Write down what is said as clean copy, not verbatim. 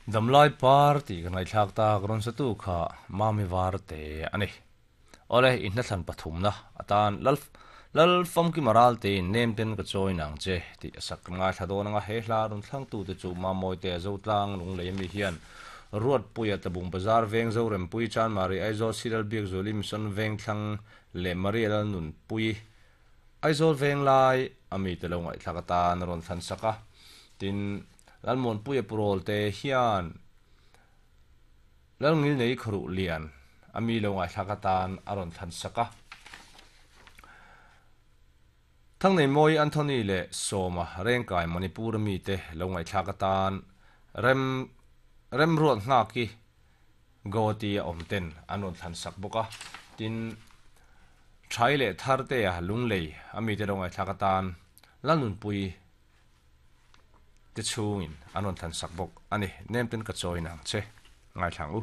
Damlai par tih ka ngaihthlak tak rawn satu kha Mami Varte a ni. Awle, i hnathlan pathumna atan Lal Lal Famkima Raltein nem ten ka chawi nang che tih a sak kan ngaithla dawn anga he hla rawn thlangtute chu Mamawite Zotlang Lunglei ami hian Ruatpuia Tlabung Bazar Veng Zorempui Chanmari Aizawl Siral Biakzuali Mission Vengthlang leh Maria Lalnunpui Aizawl Venglai ami te lo ngaihthlak atan a rawn thlan sak a, tin Lalmuanpuia Purawl te hian Lalngilnei Khawruh Lian ami lo ngaihthlak atan a rawn thlan sak a. Thangneimawi Anthony leh Sawma Rengkai Manipur ami te lo ngaihthlak atan Rem Remruat Nghaki Guwahati a awm ten an rawn thlan sak bawk a, tin Thai leh Thartea Lunglei a mite lo ngaihthlak atan Lalnunpui te chhungin an rawn thlan sak bawk a ni. Nem ten ka chawi nang che ngaithla ang u.